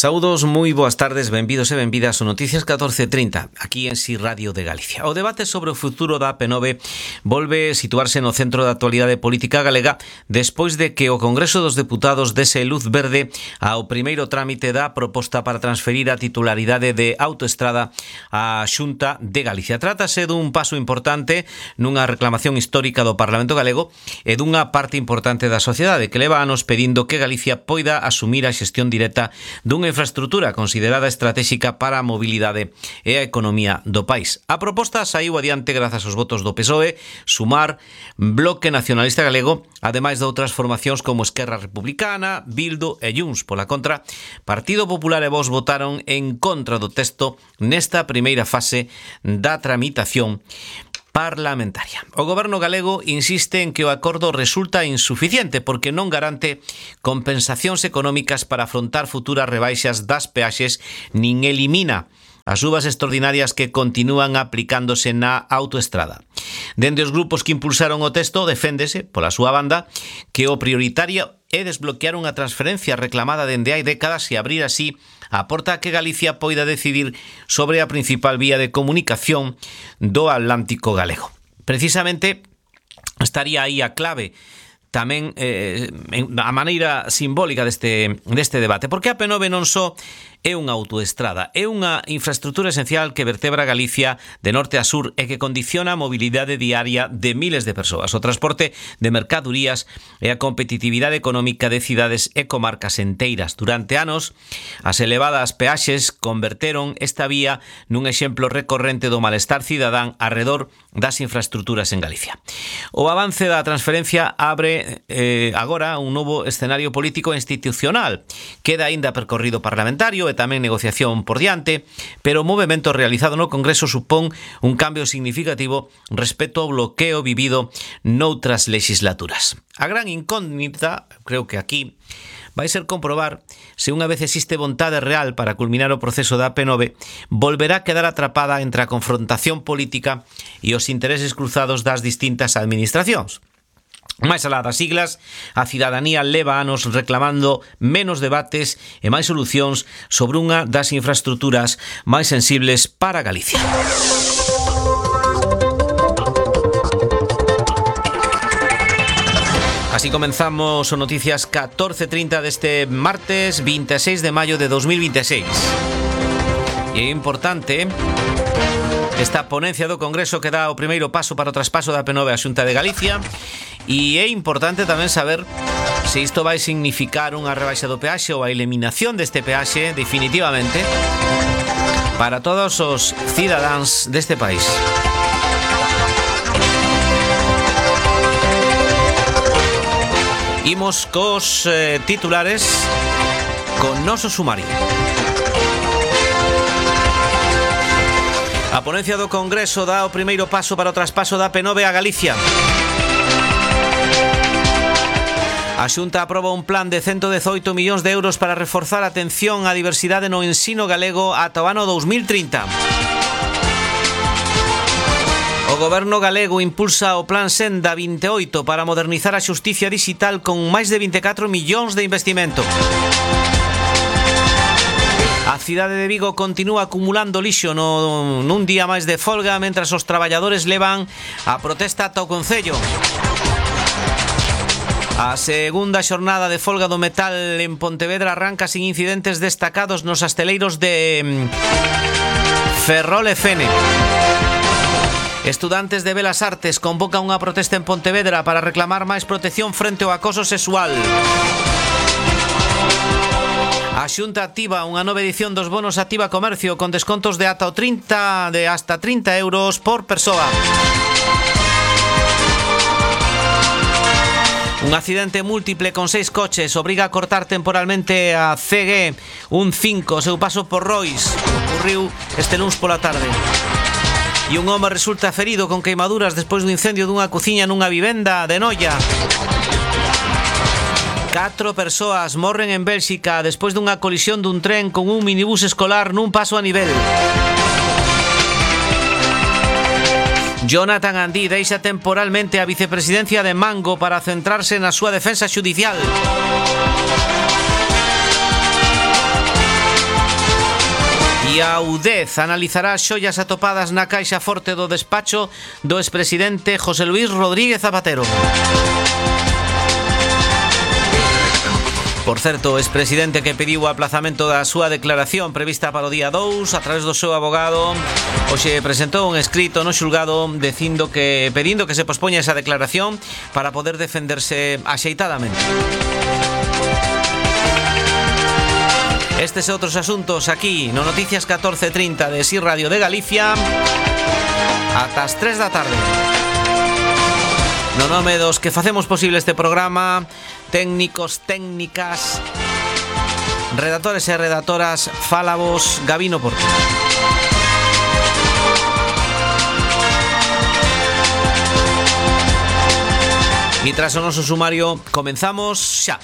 Saúdos, moi boas tardes, benvidos e benvidas ao Noticias 1430, aquí en Si Radio de Galicia. O debate sobre o futuro da AP9 volve situarse no centro da actualidade política galega despois de que o Congreso dos Deputados dese luz verde ao primeiro trámite da proposta para transferir a titularidade de Autoestrada á Xunta de Galicia. Trátase dun paso importante nunha reclamación histórica do Parlamento galego e dunha parte importante da sociedade que leva anos pedindo que Galicia poida asumir a xestión directa dunha infraestrutura considerada estratégica para a mobilidade e a economía do país. A proposta saiu adiante grazas aos votos do PSOE, Sumar, Bloque Nacionalista Galego, ademais de outras formacións como Esquerra Republicana, Bildu e Junts. Pola contra, Partido Popular e Vox votaron en contra do texto nesta primeira fase da tramitación parlamentaria. O goberno galego insiste en que o acordo resulta insuficiente porque non garante compensacións económicas para afrontar futuras rebaixas das peaxes nin elimina as subas extraordinarias que continúan aplicándose na autoestrada. Dende os grupos que impulsaron o texto, deféndese, pola súa banda, que o prioritario é desbloquear unha transferencia reclamada dende hai décadas e abrir así a porta a que Galicia poida decidir sobre a principal vía de comunicación do Atlántico galego. Precisamente estaría aí a clave tamén a maneira simbólica deste debate, porque a P9 non só é unha autoestrada, é unha infraestrutura esencial que vertebra Galicia de norte a sur e que condiciona a mobilidade diaria de miles de persoas, o transporte de mercadorías e a competitividade económica de cidades e comarcas enteiras. Durante anos, as elevadas peaxes converteron esta vía nun exemplo recorrente do malestar cidadán arredor das infraestruturas en Galicia. O avance da transferencia abre agora un novo escenario político e institucional. Queda aínda percorrido parlamentario e tamén negociación por diante, pero o movimento realizado no Congreso supón un cambio significativo respecto ao bloqueo vivido noutras legislaturas. A gran incógnita, creo que aquí, vai ser comprobar se unha vez existe vontade real para culminar o proceso da AP9, volverá a quedar atrapada entre a confrontación política e os intereses cruzados das distintas administracións. Máis alá das siglas, a cidadanía leva anos reclamando menos debates e máis solucións sobre unha das infraestruturas máis sensibles para Galicia. Así comenzamos o Noticias 1430 deste martes 26 de maio de 2026. E é importante esta ponencia do Congreso que dá o primeiro paso para o traspaso da P9 á Xunta de Galicia. E é importante tamén saber se isto vai significar unha rebaixa do peaxe ou a eliminación deste peaxe definitivamente para todos os cidadáns deste país. Imos cos titulares con noso sumario. A ponencia do Congreso dá o primeiro paso para o traspaso da P9 a Galicia. A Xunta aproba un plan de 118 millóns de euros para reforzar a atención á diversidade no ensino galego ata o ano 2030. O goberno galego impulsa o Plan Senda 28 para modernizar a xusticia digital con máis de 24 millóns de investimento. A cidade de Vigo continúa acumulando lixo nun día máis de folga mentras os traballadores levan a protesta ata o Concello. A segunda xornada de folga do metal en Pontevedra arranca sin incidentes destacados nos asteleiros de Ferrol e Fene. Estudantes de Belas Artes convocan unha protesta en Pontevedra para reclamar máis protección frente ao acoso sexual. A Xunta activa unha nova edición dos bonos Activa Comercio con descontos de hasta 30 euros por persoa. Un accidente múltiple con 6 coches obriga a cortar temporalmente a CG 5 seu paso por Rois. Ocurriu este luns pola tarde. E un home resulta ferido con queimaduras despois do incendio dunha cociña nunha vivenda de Noia. 4 persoas morren en Bélxica despois dunha colisión dun tren con un minibús escolar nun paso a nivel. Jonathan Andí deixa temporalmente a vicepresidencia de Mango para centrarse na súa defensa xudicial. E a UDEZ analizará as xollas atopadas na caixa forte do despacho do expresidente José Luis Rodríguez Zapatero. Por certo, o expresidente que pediu o aplazamento da súa declaración prevista para o día 2 a través do seu abogado hoxe presentou un escrito no xulgado pedindo que se pospoña esa declaración para poder defenderse axeitadamente. Estes e outros asuntos aquí no Noticias 14:30 de SIR Radio de Galicia ata as 3 da tarde. No nome dos que facemos posible este programa, técnicos, técnicas, redactores e redactoras, fala vos Gabino Porto. E tras o noso sumario, comenzamos xa.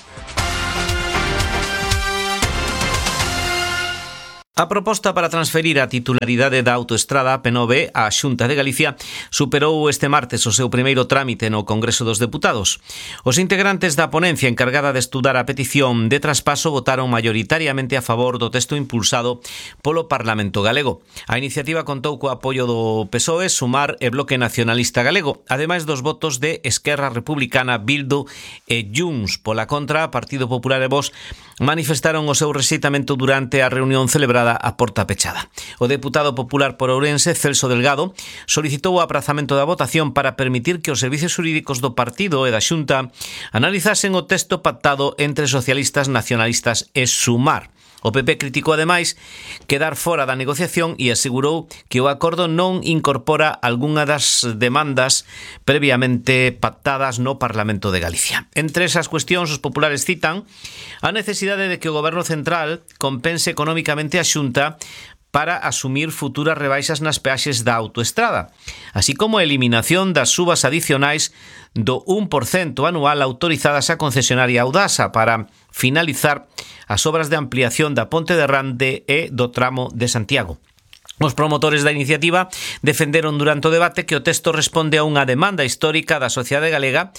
A proposta para transferir a titularidade da autoestrada AP9 á Xunta de Galicia superou este martes o seu primeiro trámite no Congreso dos Deputados. Os integrantes da ponencia encargada de estudar a petición de traspaso votaron maioritariamente a favor do texto impulsado polo Parlamento galego. A iniciativa contou co apoio do PSOE, Sumar e Bloque Nacionalista Galego, ademais dos votos de Esquerra Republicana, Bildu e Junts. Pola contra, Partido Popular e Vox manifestaron o seu rexeitamento durante a reunión celebrada a porta pechada. O deputado popular por Ourense, Celso Delgado, solicitou o aprazamento da votación para permitir que os servicios xurídicos do partido e da Xunta analizasen o texto pactado entre socialistas, nacionalistas e Sumar. O PP criticou ademais quedar fora da negociación e asegurou que o acordo non incorpora algunha das demandas previamente pactadas no Parlamento de Galicia. Entre esas cuestións, os populares citan a necesidade de que o Goberno Central compense económicamente a Xunta para asumir futuras rebaixas nas peaxes da autoestrada, así como a eliminación das subas adicionais do 1% anual autorizadas á concesionaria Audasa para finalizar as obras de ampliación da Ponte de Rande e do tramo de Santiago. Os promotores da iniciativa defenderon durante o debate que o texto responde a unha demanda histórica da sociedade galega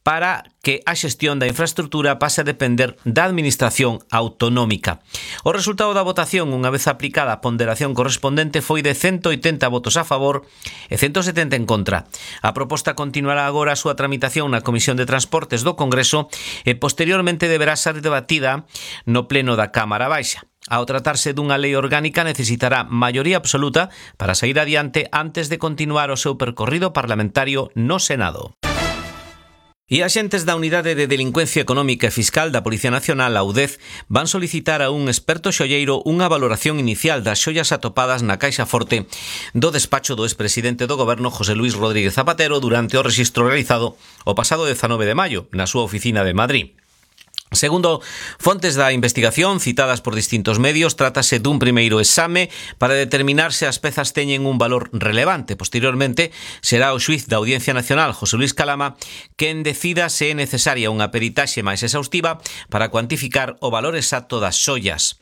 para que a xestión da infraestructura pase a depender da administración autonómica. O resultado da votación, unha vez aplicada a ponderación correspondente, foi de 180 votos a favor e 170 en contra. A proposta continuará agora a súa tramitación na Comisión de Transportes do Congreso e posteriormente deberá ser debatida no Pleno da Cámara Baixa. Ao tratarse dunha lei orgánica necesitará maioría absoluta para sair adiante antes de continuar o seu percorrido parlamentario no Senado. E axentes da Unidade de Delincuencia Económica e Fiscal da Policía Nacional, a UDEZ, van solicitar a un experto xolleiro unha valoración inicial das xollas atopadas na caixa forte do despacho do expresidente do Goberno José Luis Rodríguez Zapatero durante o rexistro realizado o pasado 19 de maio na súa oficina de Madrid. Segundo fontes da investigación citadas por distintos medios, trátase dun primeiro exame para determinar se as pezas teñen un valor relevante. Posteriormente, será o xuiz da Audiencia Nacional, José Luis Calama, quen decida se é necesaria unha peritaxe máis exhaustiva para cuantificar o valor exacto das xollas.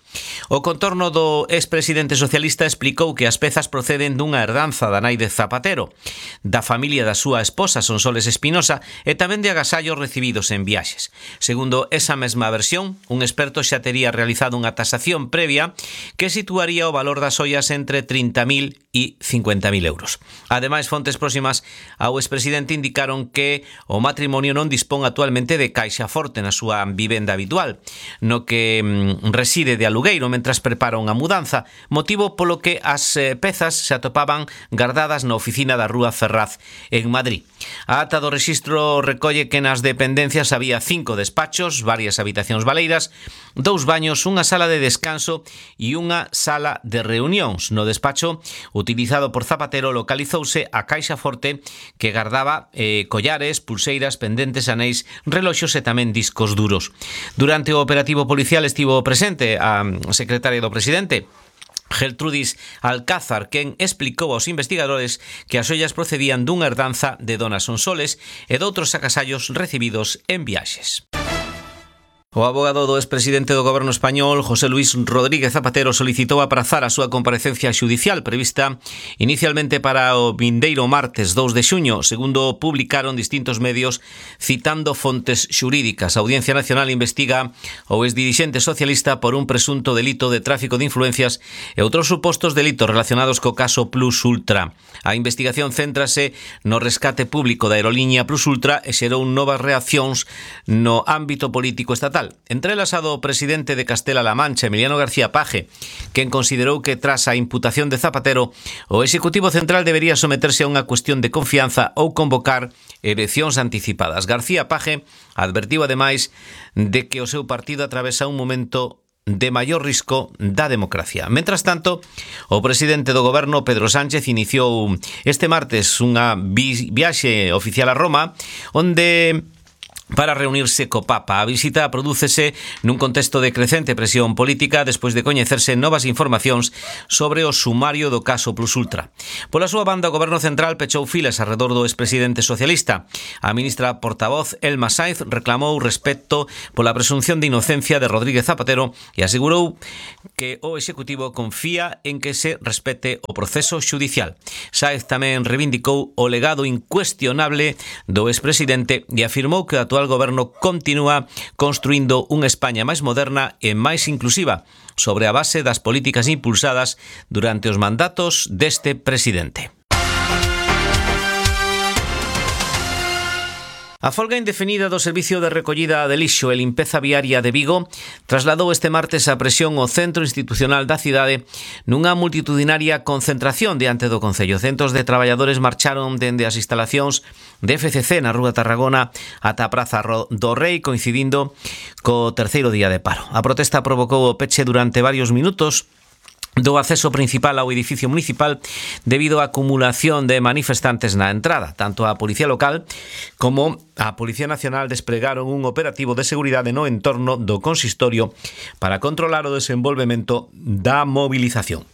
O contorno do expresidente socialista explicou que as pezas proceden dunha herdanza da nai de Zapatero, da familia da súa esposa Sonsoles Espinosa e tamén de agasallos recibidos en viaxes. Segundo esa mesma versión, un experto xa tería realizado unha tasación previa que situaría o valor das ollas entre 30.000 e 50.000 euros. Ademais, fontes próximas ao expresidente indicaron que o matrimonio non dispón actualmente de caixa forte na súa vivenda habitual, no que reside de alugueiro mentras prepara unha mudanza, motivo polo que as pezas se atopaban gardadas na oficina da Rúa Ferraz en Madrid. A ata do rexistro recolle que nas dependencias había 5 despachos, varias habitacións baleiras, 2 baños, unha sala de descanso e unha sala de reunións. No despacho utilizado por Zapatero localizouse a caixa forte que gardaba collares, pulseiras, pendentes, anéis, reloxos e tamén discos duros. Durante o operativo policial estivo presente a secretaria do presidente, Geltrudis Alcázar, quen explicou aos investigadores que as ollas procedían dunha herdanza de dona Sonsoles e doutros agasallos recibidos en viaxes. O abogado do expresidente do Goberno español, José Luis Rodríguez Zapatero, solicitou aprazar a súa comparecencia xudicial prevista inicialmente para o vindeiro martes 2 de xuño, segundo publicaron distintos medios citando fontes xurídicas. A Audiencia Nacional investiga o exdirixente socialista por un presunto delito de tráfico de influencias e outros supostos delitos relacionados co caso Plus Ultra. A investigación céntrase no rescate público da aerolínea Plus Ultra e xerou novas reaccións no ámbito político estatal. Entre elas a do presidente de Castela-La Mancha, Emiliano García Paje, quen considerou que tras a imputación de Zapatero o Executivo Central debería someterse a unha cuestión de confianza ou convocar eleccións anticipadas. García Paje advertiu ademais de que o seu partido atravesa un momento de maior risco da democracia. Mentras tanto, o presidente do goberno, Pedro Sánchez, iniciou este martes unha viaxe oficial a Roma, onde para reunirse co Papa. A visita prodúcese nun contexto de crecente presión política despois de coñecerse novas informacións sobre o sumario do caso Plus Ultra. Pola súa banda, o Goberno Central pechou filas arredor do expresidente socialista. A ministra portavoz Elma Sainz reclamou respecto pola presunción de inocencia de Rodríguez Zapatero e asegurou que o Executivo confía en que se respete o proceso xudicial. Sainz tamén reivindicou o legado incuestionable do expresidente e afirmou que o actual goberno continúa construindo unha España máis moderna e máis inclusiva sobre a base das políticas impulsadas durante os mandatos deste presidente. A folga indefinida do Servicio de Recollida de Lixo e Limpeza Viaria de Vigo trasladou este martes a presión ao centro institucional da cidade nunha multitudinaria concentración diante do Concello. Centos de traballadores marcharon dende as instalacións de FCC na Rúa Tarragona ata a Praza do Rei, coincidindo co terceiro día de paro. A protesta provocou o peche durante varios minutos do acceso principal ao edificio municipal debido á acumulación de manifestantes na entrada. Tanto a Policía Local como a Policía Nacional despregaron un operativo de seguridade no entorno do consistorio para controlar o desenvolvemento da movilización.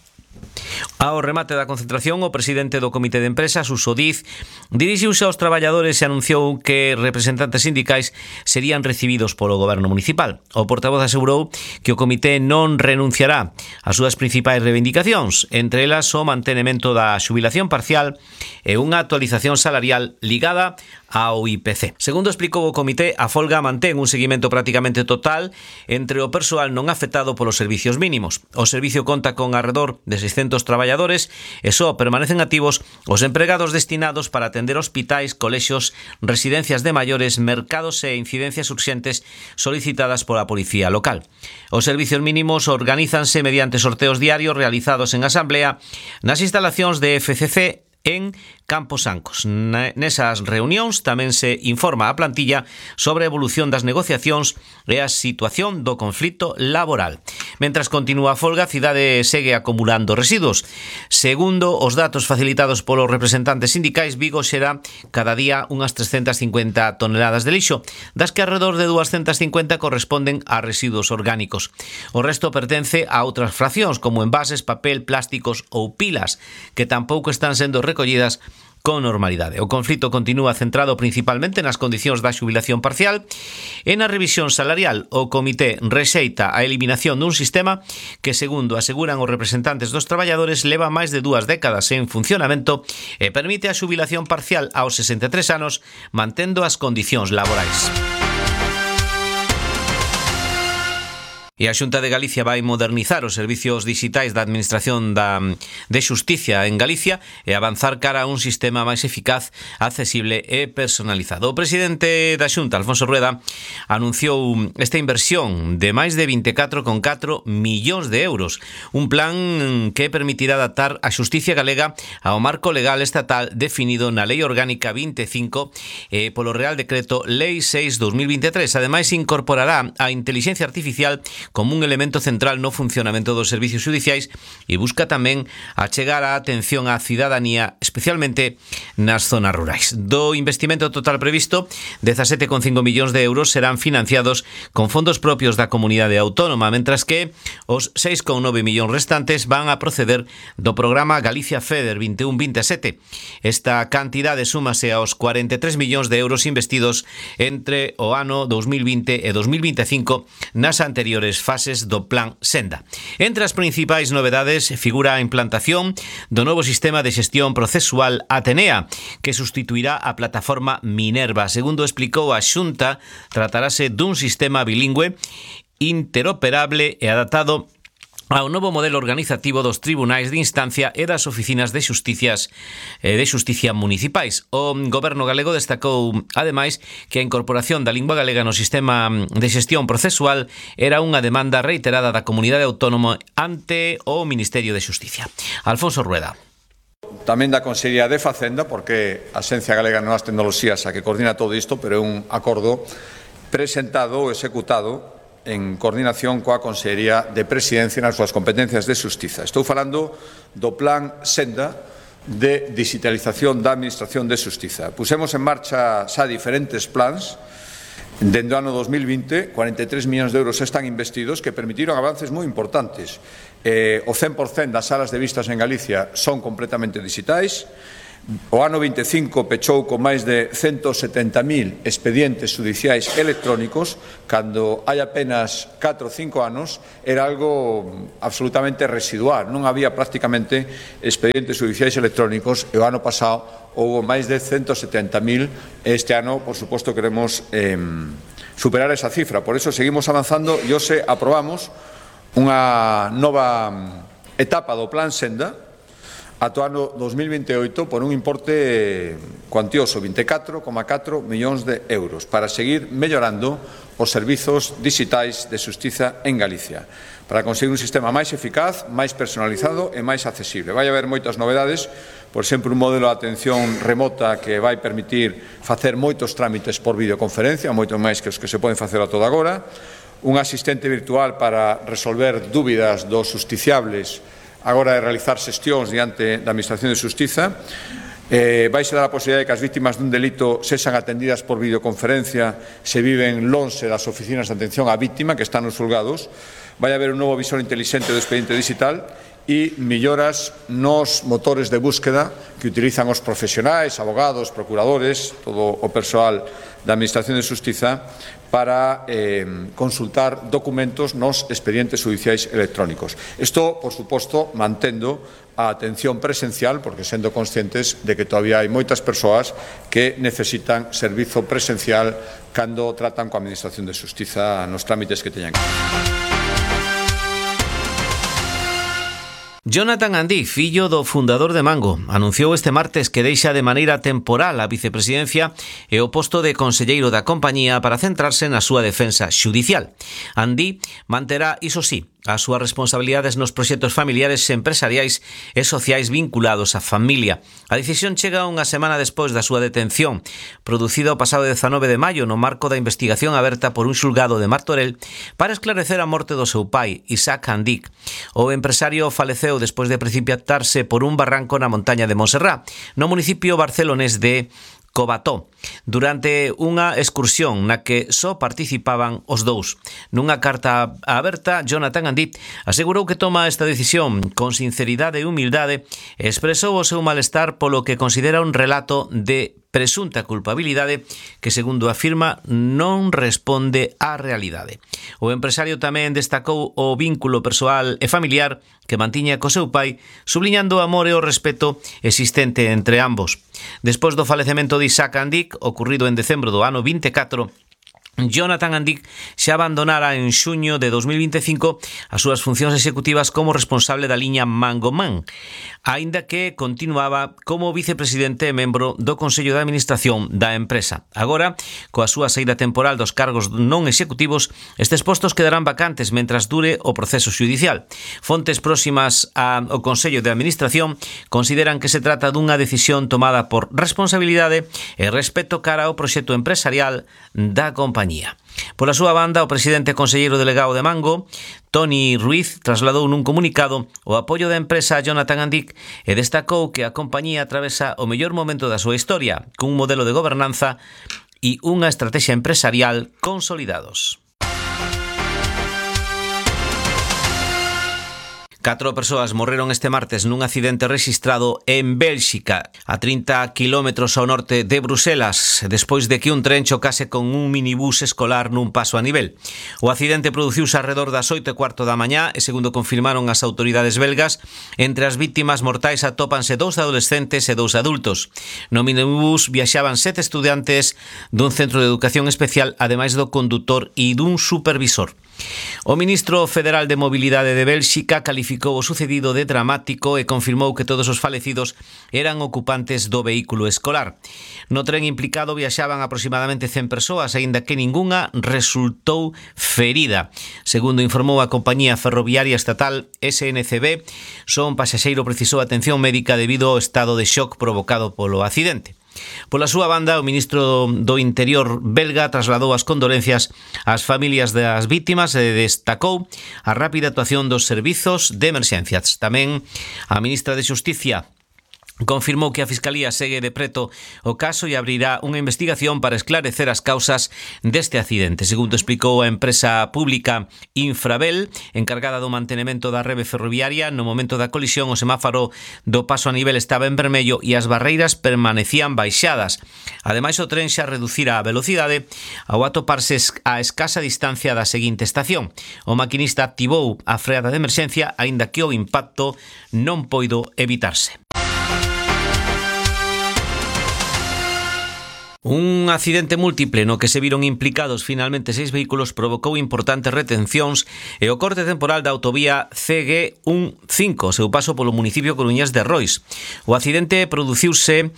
Ao remate da concentración, o presidente do Comité de Empresa, Suso Diz, dirixiuse aos traballadores e anunciou que representantes sindicais serían recibidos polo goberno municipal. O portavoz asegurou que o comité non renunciará ás súas principais reivindicacións, entre elas o mantenemento da xubilación parcial e unha actualización salarial ligada ao IPC. Segundo explicou o comité, a folga mantén un seguimento prácticamente total entre o persoal non afectado polos servicios mínimos. O servicio conta con arredor de 600 traballadores e só permanecen activos os empregados destinados para atender hospitais, colexios, residencias de maiores, mercados e incidencias urxentes solicitadas pola Policía Local. Os servicios mínimos organízanse mediante sorteos diarios realizados en asamblea nas instalacións de FCC en Campos Ancos. Nesas reunións tamén se informa a plantilla sobre a evolución das negociacións e a situación do conflito laboral. Mentras continúa a folga, a cidade segue acumulando residuos. Segundo os datos facilitados polos representantes sindicais, Vigo xera cada día unhas 350 toneladas de lixo, das que alrededor de 250 corresponden a residuos orgánicos. O resto pertence a outras fraccións, como envases, papel, plásticos ou pilas, que tampouco están sendo recollidas con normalidade. O conflito continúa centrado principalmente nas condicións da xubilación parcial e na revisión salarial. O comité rexeita a eliminación dun sistema que, segundo aseguran os representantes dos traballadores, leva máis de 2 décadas en funcionamento e permite a xubilación parcial aos 63 anos, mantendo as condicións laborais. E a Xunta de Galicia vai modernizar os servicios digitais da Administración de Xusticia en Galicia e avanzar cara a un sistema máis eficaz, accesible e personalizado. O presidente da Xunta, Alfonso Rueda, anunciou esta inversión de máis de 24,4 millóns de euros, un plan que permitirá adaptar a xusticia galega ao marco legal estatal definido na Lei Orgánica 25 e polo Real Decreto Lei 6/2023. Ademais, incorporará a inteligencia artificial como un elemento central no funcionamento dos servicios judiciais e busca tamén achegar a atención á cidadanía, especialmente nas zonas rurais. Do investimento total previsto, 17,5 millóns de euros serán financiados con fondos propios da comunidade autónoma, mentras que os 6,9 millóns restantes van a proceder do programa Galicia FEDER 21-27. Esta cantidade súmase aos 43 millóns de euros investidos entre o ano 2020 e 2025 nas anteriores fases do Plan Senda. Entre as principais novedades figura a implantación do novo sistema de xestión procesual Atenea, que sustituirá a plataforma Minerva. Segundo explicou a Xunta, tratarase dun sistema bilingüe, interoperable e adaptado ao novo modelo organizativo dos tribunais de instancia e das oficinas de xusticia municipais. O goberno galego destacou, ademais, que a incorporación da lingua galega no sistema de xestión procesual era unha demanda reiterada da comunidade autónoma ante o Ministerio de Xusticia. Alfonso Rueda. Tamén da Consellería de Facenda, porque a Axencia Galega de Novas Tecnoloxías a que coordina todo isto, pero é un acordo presentado ou executado en coordinación coa Consellería de Presidencia nas súas competencias de xustiza. Estou falando do Plan Senda de digitalización da Administración de Xustiza. Pusemos en marcha xa diferentes plans. Dende o ano 2020, 43 millóns de euros están investidos que permitiron avances moi importantes. O 100% das salas de vistas en Galicia son completamente digitais. O ano 25 pechou con máis de 170.000 expedientes judiciais electrónicos, cando hai apenas 4 ou 5 anos era algo absolutamente residual, non había prácticamente expedientes judiciais electrónicos e o ano pasado houve máis de 170.000 e este ano, por suposto, queremos superar esa cifra. Por eso seguimos avanzando e hoxe aprobamos unha nova etapa do Plan Senda ata o ano 2028 por un importe cuantioso, 24,4 millóns de euros, para seguir mellorando os servizos digitais de xustiza en Galicia, para conseguir un sistema máis eficaz, máis personalizado e máis accesible. Vai haber moitas novedades, por exemplo, un modelo de atención remota que vai permitir facer moitos trámites por videoconferencia, moito máis que os que se poden facer a toda agora, un asistente virtual para resolver dúbidas dos justiciables agora de realizar xestións diante da Administración de Xustiza. Vai ser dar a posibilidade de que as vítimas dun delito sexan atendidas por videoconferencia se viven lonxe das oficinas de atención á vítima que están nos xulgados. Vai haber un novo visor inteligente do expediente digital e melloras nos motores de búsqueda que utilizan os profesionais, abogados, procuradores, todo o persoal da Administración de Xustiza para consultar documentos nos expedientes judiciais electrónicos. Isto, por suposto, mantendo a atención presencial, porque sendo conscientes de que todavía hai moitas persoas que necesitan servizo presencial cando tratan coa Administración de Xustiza nos trámites que teñan. Jonathan Andí, fillo do fundador de Mango, anunciou este martes que deixa de maneira temporal a vicepresidencia e o posto de conselleiro da compañía para centrarse na súa defensa xudicial. Andí manterá, iso sí, as súas responsabilidades nos proxectos familiares, empresariais e sociais vinculados á familia. A decisión chega unha semana despois da súa detención, producida o pasado 19 de maio no marco da investigación aberta por un xulgado de Martorell para esclarecer a morte do seu pai, Isaac Andí. O empresario faleceu despois de precipitarse por un barranco na montaña de Monserrat, no municipio barcelonés de Cobató, durante unha excursión na que só participaban os dous. Nunha carta aberta, Jonathan Andí asegurou que toma esta decisión con sinceridade e humildade e expresou o seu malestar polo que considera un relato de presunta culpabilidade que, segundo afirma, non responde á realidade. O empresario tamén destacou o vínculo persoal e familiar que mantiña co seu pai, subliñando o amor e o respeto existente entre ambos. Despois do falecemento de Isaac Andí, ocurrido en decembro do ano 24, Jonathan Andí xa abandonara en xuño de 2025 as súas funcións executivas como responsable da liña Mangoman, aínda que continuaba como vicepresidente e membro do Consello de Administración da empresa. Agora, coa súa saída temporal dos cargos non executivos, estes postos quedarán vacantes mentras dure o proceso xudicial. Fontes próximas ao Consello de Administración consideran que se trata dunha decisión tomada por responsabilidade e respeto cara ao proxecto empresarial da compañía. compañía. Pola súa banda, o presidente e conselleiro delegado de Mango, Toni Ruiz, trasladou nun comunicado o apoio da empresa a Jonathan Andic e destacou que a compañía atravesa o mellor momento da súa historia, cun modelo de gobernanza e unha estrategia empresarial consolidados. 4 persoas morreron este martes nun accidente rexistrado en Bélxica, a 30 kilómetros ao norte de Bruselas, despois de que un tren chocase con un minibús escolar nun paso a nivel. O accidente produciuse arredor das 8:15 da mañá e, segundo confirmaron as autoridades belgas, entre as vítimas mortais atópanse 2 adolescentes e 2 adultos. No minibús viaxaban 7 estudantes dun centro de educación especial, ademais do condutor e dun supervisor. O ministro federal de Mobilidade de Bélxica calificou o sucedido de dramático e confirmou que todos os falecidos eran ocupantes do vehículo escolar. No tren implicado viaxaban aproximadamente 100 persoas, aínda que ningunha resultou ferida. Segundo informou a compañía ferroviaria estatal SNCB, só un pasaxeiro precisou atención médica debido ao estado de shock provocado polo accidente. Pola súa banda, o ministro do Interior belga trasladou as condolencias ás familias das vítimas e destacou a rápida actuación dos servizos de emerxencias. Tamén a ministra de Xusticia confirmou que a Fiscalía segue de preto o caso e abrirá unha investigación para esclarecer as causas deste accidente. Segundo explicou a empresa pública Infrabel, encargada do mantenimento da rede ferroviaria, no momento da colisión o semáforo do paso a nivel estaba en vermello e as barreiras permanecían baixadas. Ademais, o tren xa reducira a velocidade ao atoparse a escasa distancia da seguinte estación. O maquinista activou a freada de emerxencia, aínda que o impacto non poido evitarse. Un accidente múltiple no que se viron implicados finalmente 6 vehículos provocou importantes retencións e o corte temporal da autovía CG15, seu paso polo municipio coruñés de Rois. O accidente produciuse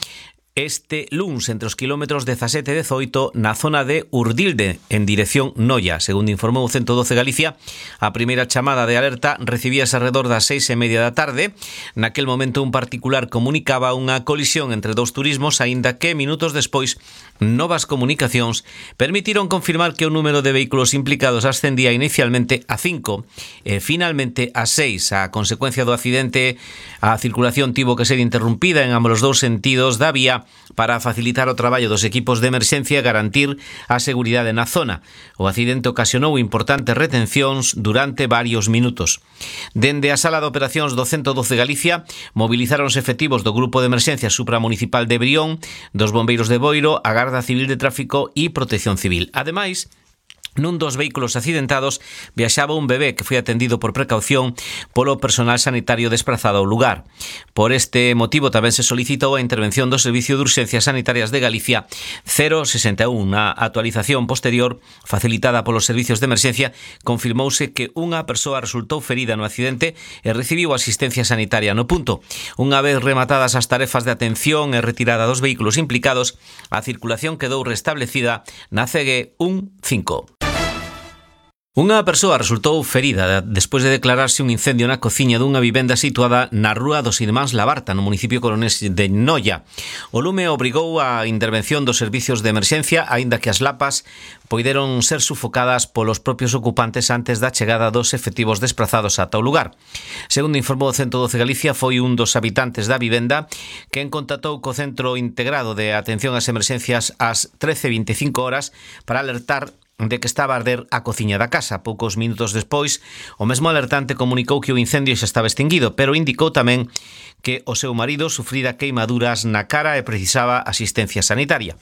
este luns entre os kilómetros 17 e 18 na zona de Urdilde, en dirección Noia. Segundo informou o 112 Galicia, a primeira chamada de alerta recibíase alrededor das 6:30 da tarde. Naquel momento un particular comunicaba unha colisión entre 2 turismos, aínda que minutos despois novas comunicacións permitiron confirmar que o número de vehículos implicados ascendía inicialmente a 5 e finalmente a 6. A consecuencia do accidente, a circulación tivo que ser interrumpida en ambos os dous sentidos da vía para facilitar o traballo dos equipos de emerxencia e garantir a seguridade na zona. O accidente ocasionou importantes retencións durante varios minutos. Dende a sala de operacións do 112 Galicia, movilizáronse efectivos do Grupo de Emerxencia Supramunicipal de Brión, dos Bombeiros de Boiro, a Garda Civil de Tráfico e Protección Civil. Ademais, nun dos vehículos accidentados viaxaba un bebé que foi atendido por precaución polo personal sanitario desplazado ao lugar. Por este motivo tamén se solicitou a intervención do Servicio de Urxencias Sanitarias de Galicia 061. Na actualización posterior facilitada polos servicios de emerxencia confirmouse que unha persoa resultou ferida no accidente e recibiu asistencia sanitaria no punto. Unha vez rematadas as tarefas de atención e retirada dos vehículos implicados, a circulación quedou restablecida na CG15. Unha persoa resultou ferida despois de declararse un incendio na cociña dunha vivenda situada na rúa dos Irmáns Labarta, no municipio coruñés de Noia. O lume obrigou a intervención dos servicios de emerxencia, aínda que as lapas poideron ser sufocadas polos propios ocupantes antes da chegada dos efectivos desplazados ata o lugar. Segundo informou o 112 Galicia, foi un dos habitantes da vivenda quen contactou co Centro Integrado de Atención ás Emerxencias ás 13:25 horas para alertar de que estaba a arder a cociña da casa. Poucos minutos despois, o mesmo alertante comunicou que o incendio xa estaba extinguido, pero indicou tamén que o seu marido sufrira queimaduras na cara e precisaba asistencia sanitaria.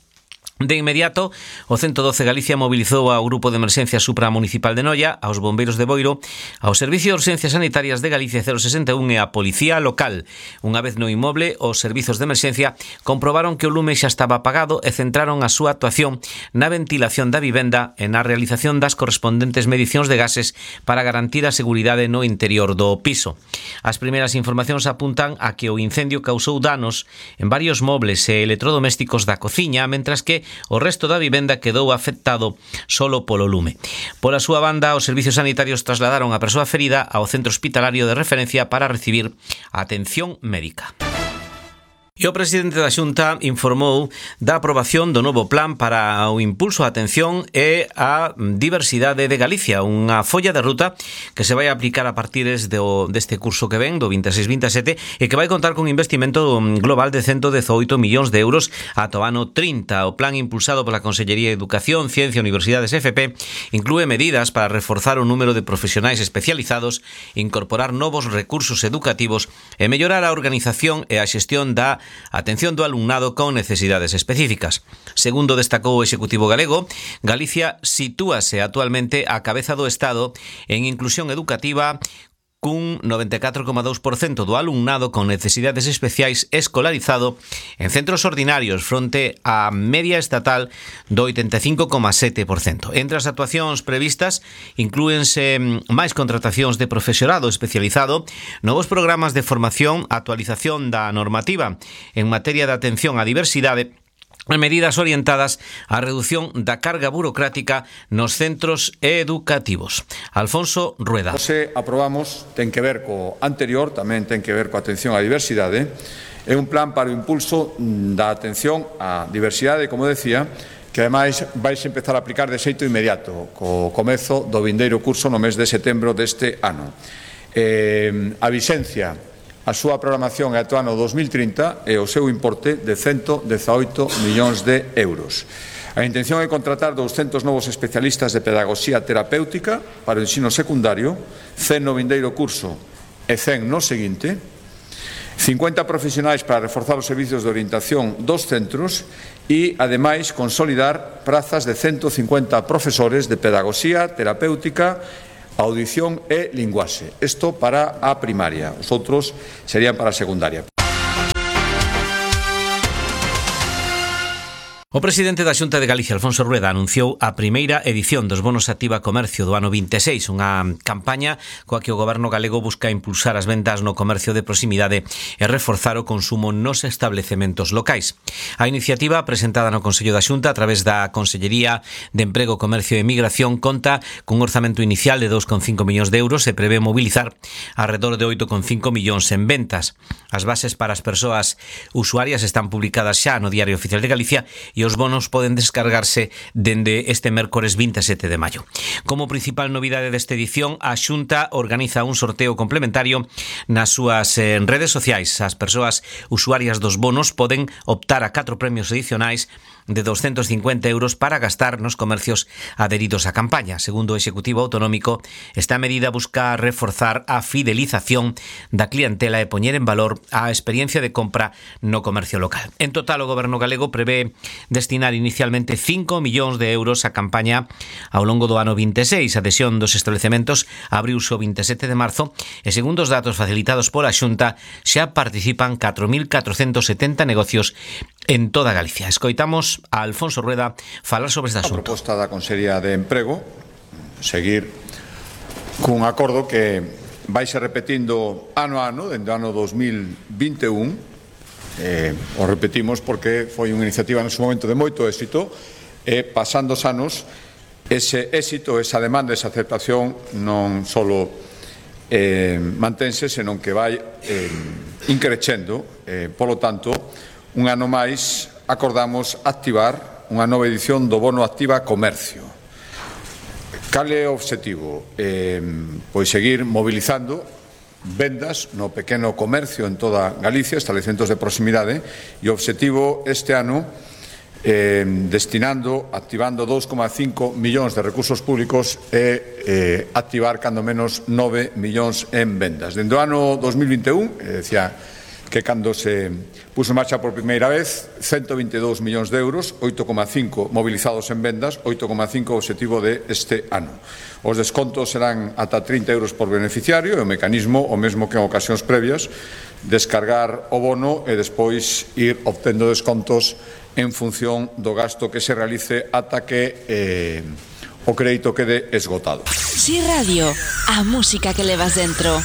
De inmediato, o 112 Galicia mobilizou ao Grupo de Emerxencia Supramunicipal de Noia, aos Bombeiros de Boiro, ao Servicio de Urxencias Sanitarias de Galicia 061 e a Policía Local. Unha vez no inmoble, os servizos de emerxencia comprobaron que o lume xa estaba apagado e centraron a súa actuación na ventilación da vivenda e na realización das correspondentes medicións de gases para garantir a seguridade no interior do piso. As primeiras informacións apuntan a que o incendio causou danos en varios mobles e electrodomésticos da cociña, mentras que o resto da vivenda quedou afectado solo polo lume. Pola súa banda, os servicios sanitarios trasladaron a persoa ferida ao centro hospitalario de referencia para recibir atención médica. E o presidente da Xunta informou da aprobación do novo plan para o impulso á atención e á diversidade de Galicia, unha folla de ruta que se vai aplicar a partir deste curso que ven, do 26-27, e que vai contar con investimento global de 118 millóns de euros ata o ano 30. O plan impulsado pola Consellería de Educación, Ciencia e Universidades FP inclúe medidas para reforzar o número de profesionais especializados, incorporar novos recursos educativos e mellorar a organización e a xestión da atención do alumnado con necesidades específicas. Segundo destacou o Executivo galego, Galicia sitúase actualmente á cabeza do Estado en inclusión educativa, cun 94,2% do alumnado con necesidades especiais escolarizado en centros ordinarios fronte á media estatal do 85,7%. Entre as actuacións previstas inclúense máis contratacións de profesorado especializado, novos programas de formación, actualización da normativa en materia de atención á diversidade e medidas orientadas á reducción da carga burocrática nos centros educativos. Alfonso Rueda. Se aprobamos, ten que ver co anterior, tamén ten que ver coa atención á diversidade. É un plan para o impulso da atención á diversidade, como decía, que ademais vais empezar a aplicar de xeito inmediato, co comezo do vindeiro curso no mes de setembro deste ano. A vixencia, a súa programación é ata o ano 2030 e o seu importe de 118 millóns de euros. A intención é contratar 200 novos especialistas de pedagogía terapéutica para o ensino secundario, 100 no vindeiro curso e 100 no seguinte, 50 profesionais para reforzar os servizos de orientación dos centros e, ademais, consolidar prazas de 150 profesores de pedagogía terapéutica, audición e linguaxe. Isto para a primaria, os outros serían para a secundaria. O presidente da Xunta de Galicia, Alfonso Rueda, anunciou a primeira edición dos bonos Activa Comercio do ano 26, unha campaña coa que o goberno galego busca impulsar as vendas no comercio de proximidade e reforzar o consumo nos establecementos locais. A iniciativa, presentada no Consello da Xunta a través da Consellería de Emprego, Comercio e Migración, conta cun orzamento inicial de 2,5 millóns de euros e prevé mobilizar alrededor de 8,5 millóns en ventas. As bases para as persoas usuarias están publicadas xa no Diario Oficial de Galicia e os bonos poden descargarse dende este mércores 27 de maio. Como principal novidade desta edición, a Xunta organiza un sorteo complementario nas súas redes sociais. As persoas usuarias dos bonos poden optar a 4 premios adicionais de 250 euros para gastar nos comercios adheridos á campaña. Segundo o Executivo Autonómico, esta medida busca reforzar a fidelización da clientela e poñer en valor a experiencia de compra no comercio local. En total, o Goberno galego prevé destinar inicialmente 5 millóns de euros á campaña ao longo do ano 26. A adhesión dos establecementos abriuse o 27 de marzo e, segundo os datos facilitados pola Xunta, xa participan 4.470 negocios en toda Galicia. Escoitamos a Alfonso Rueda falar sobre este asunto. A proposta da Consellería de Emprego, seguir cun acordo que vai ser repetindo ano a ano, dende o ano 2021. O repetimos porque foi unha iniciativa no seu momento de moito éxito e, pasando os anos, ese éxito, esa demanda, esa aceptación non só mantense, senón que vai increcendo. Polo tanto, un ano máis acordamos activar unha nova edición do Bono Activa Comercio. Cal é o obxectivo? Pois seguir mobilizando vendas no pequeno comercio en toda Galicia, establecementos de proximidade, e o obxectivo este ano, activando 2,5 millóns de recursos públicos e activar cando menos 9 millóns en vendas. Dende o ano 2021, decía que cando se puso en marcha por primeira vez, 122 millóns de euros, 8,5 movilizados en vendas, 8,5 obxectivo de este ano. Os descontos serán ata 30 euros por beneficiario e o mecanismo, o mesmo que en ocasións previas, descargar o bono e despois ir obtendo descontos en función do gasto que se realice ata que o crédito quede esgotado. Si Radio, a música que levas dentro.